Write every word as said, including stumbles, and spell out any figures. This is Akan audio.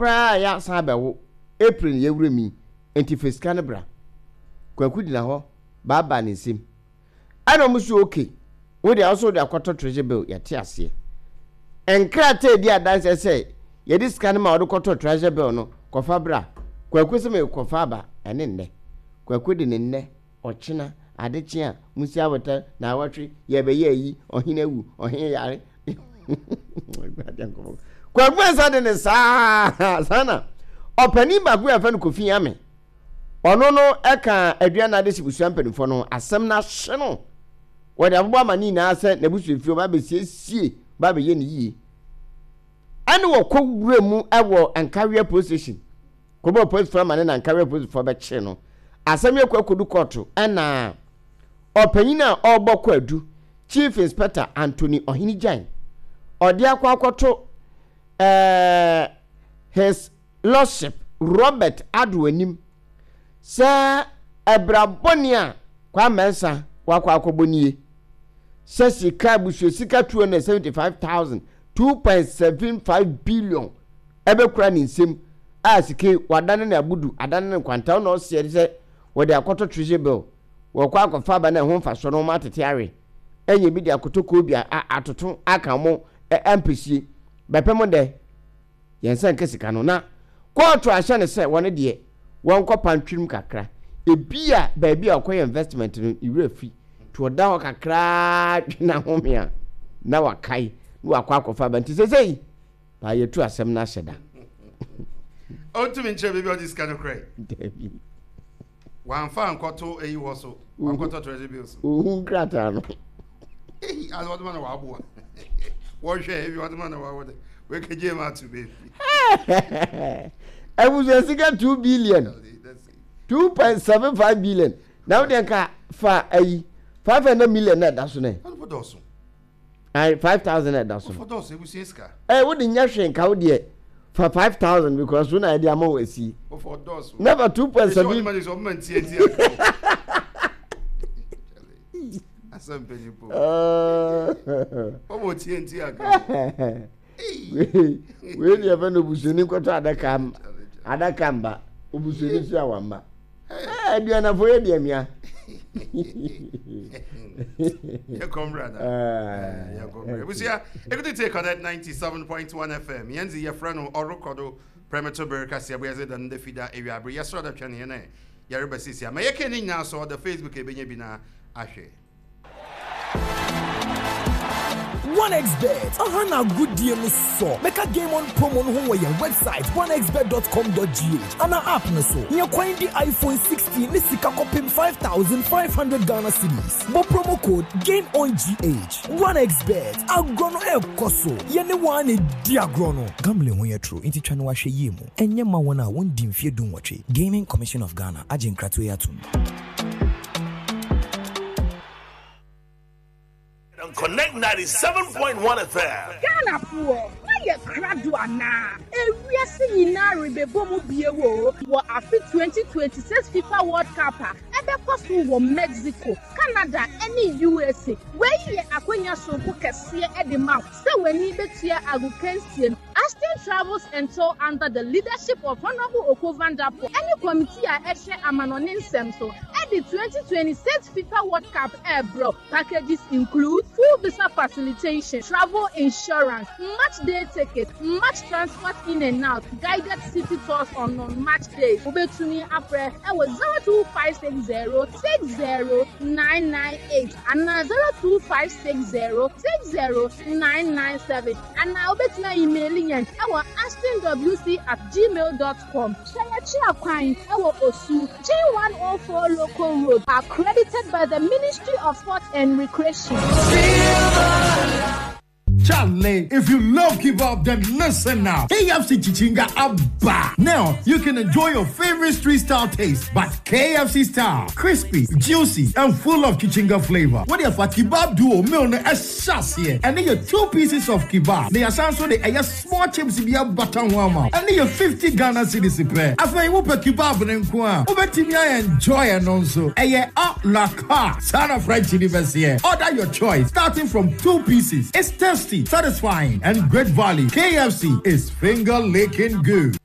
Koraa yɛ asan abɛwo April ne yɛwura mi, nti fa sika no bra. Kwaku gyina hɔ baabaa ne nsam, ɛna ɔmo so okay, wo deɛ ɔso de akɔtɔ treasury bill. Yɛte aseɛ, nkrataa edi adanseɛ sɛ yɛde sika no ma ɔde kɔtɔ treasury bill no, kɔfa bra. Kwaku sɛ mekɔfa aba. Ɛne nnɛ Kwaku de ne nnɛ ɔkyena adekye a musi awɔtɛ na awɔtwe yɛbɛyɛ ayi. Ɔhene awu, ɔhene yare. Kwaku nsa de ne saa saa na ɔpanin baako yɛ fɛ no Kofi Ame, ɔno no ɛka aduane ade si busua mpanimfoɔ no asɛm no ahye no, wɔde abobɔ ama ne nyinaa sɛ n'abusuafie ɔba abɛsiesie, ɔba abɛyɛ ne yie. Ɛne wɔkɔ wura mu ɛwɔ Nkaweɛ Police Station kɔbɔ polisifoɔ ama ne na Nkaweɛ polisifoɔ bɛkye no. Asɛm yɛ kɔ akɔdu kɔɔto, ɛna ɔpanyin a ɔrebɔ kɔ adu, Chief Inspector Anthony Ɔhene Gyan, ɔde akɔ akɔto ɛɛ His Lordship Robert Ado anim sɛ ɛbrabɔne a Kwame Mensah wakɔ akɔbɔ nie, sɛ sika abusua sika two hundred seventy five thousand two point seven five billion ɛbɛkura ne nsam a sika wadane ne abudu adane ne nkwanta na ɔseɛ sɛ wɔde akɔtɔ treasury bill, wɔkɔ akɔfa aba na ɛho mfasoɔ no wɔn atete awe ɛnyɛ bi de akɔtɔ koobi a atoto aka mo ɛmpɛsie bɛpɛ mo dɛ yɛn nsa nka sika no. Na kɔɔto ahyɛ ne sɛ wɔne deɛ wɔnkɔ pantwirim kakra, ebi a baabi a ɔkɔyɛ investment no iwura fi to ɔda hɔ kakraa dwena home a na wakae na wakɔ akɔfa aba. Nti sɛsɛyi paa yɛtu asɛm no ahyɛ da. Ɔntumi nkyerɛ baabi a ɔde sika no korɛ. Dabi. Wamfa nkɔto eyi hɔ so, wankɔtɔ treasury bills. Ohu nkrataa no. Eyi ase wɔde ma na waboa wɔhwɛ ebi wɔde ma na waboa de wekegye mu ato baabi. Abusua sika two billion, two point seven five billion na wode nka fa ayi five hundred million na ɛda so nɛ. Ɔno dɔɔso. Ayi five thousand na ɛda so. Ɔfɔ dɔɔso, ebusua sika. Ɛ wode nyɛ hwee nka wo deɛ fa five thousand because wo na yɛde ama wo asi. Ɔfɔ dɔɔso. Never two point Esi seven. ɔde ma de sɛ ɔmo ma ntia ntia asɛm mpanyinfo ɔmo tie ntia aka. Wei deɛ fɛ no obusuani nkɔtɔ adaka adaka mba, obusuani so a wamba aduanafo yɛ deɛ mia. Yɛkɔ mmra na yɛkɔ mmra. Ebusua ekutu tie Connect ninety seven point one F M. Yɛn dzi yɛfrɛ no ɔrekɔdo prɛmɛto bere kaseɛ bɔ yɛdze da no da fida ewiabere yɛsrɛ dɛ twɛn yɛn ɛ yɛreba sisi ama yɛka ne nyinaa so ɔda Facebook ebenya bi na ahwɛ. OneXBet aha na agodie no sɔ bɛka. Game On promo no ho wɔ yɛn website onexbet dot com dot G H ana app no so. Nyɛ kwan di iPhone sixteen ne sika kɔpem five thousand five hundred Ghana cedis. Bɔ promo code GAMEONGH. OneXBet, agorɔ no ɛrekɔ so, yɛne wɔn a na di agorɔ no. Gambling ho yɛ toro, nti twa no wahwɛ yie mu. Ɛnyɛ ma wɔn a wɔndi mfeɛ du nwɔtwe. Gaming Commission of Ghana agye nkratoɔ yi atom. On Connect ninety-seven point one F M. Ghanafoɔ, moayɛ krado anaa? Ewiase nyinaa rebɛbɔ mu bie wo wɔ afe twenty twenty-six FIFA World Cup a ɛbɛkɔ so wɔ Mexico, Canada ne U S A. Wei yɛ akonnwa sononko kɛseɛ de ma wo sɛ w'ani bɛtua agokansie no. Ashton Travels and Tour, under the leadership of Honorable Oko Vanderpool ɛne committee a ɛhwɛ amanɔne nsɛm so, ɛde twenty twenty-six FIFA World Cup ɛrebrɛ. Packages include full visa facilitation, travel insurance, match day ticket, match transport in and out, guided city tours on non-match days. Wobɛtumi afrɛ ɛwɔ zero two five six zero six zero nine nine eight anaa zero two five six zero six zero nine nine seven, anaa wobɛtumi email yɛn ɛwɔ ashtonwc at gmail dot com. Hyɛ yɛkyi akwan ɛwɔ Osu, G one oh four Local Road. Accredited by the Ministry of Sports and Recreation. Charlie, if you love kebab, then listen now. K F C Chichinga Abba. Now you can enjoy your favorite street style taste, but K F C style, crispy, juicy, and full of chichinga flavor. What if a kebab duo meal no here? And then your two pieces of kebab. They are so the a small chips be a butter warmer. And then your fifty Ghana cedis pair. After you put kebab in kwa, wobɛtumi enjoy and also a a la carte. Son of French University. Order your choice, starting from two pieces. It's tasty, satisfying, and great value. K F C is finger licking good.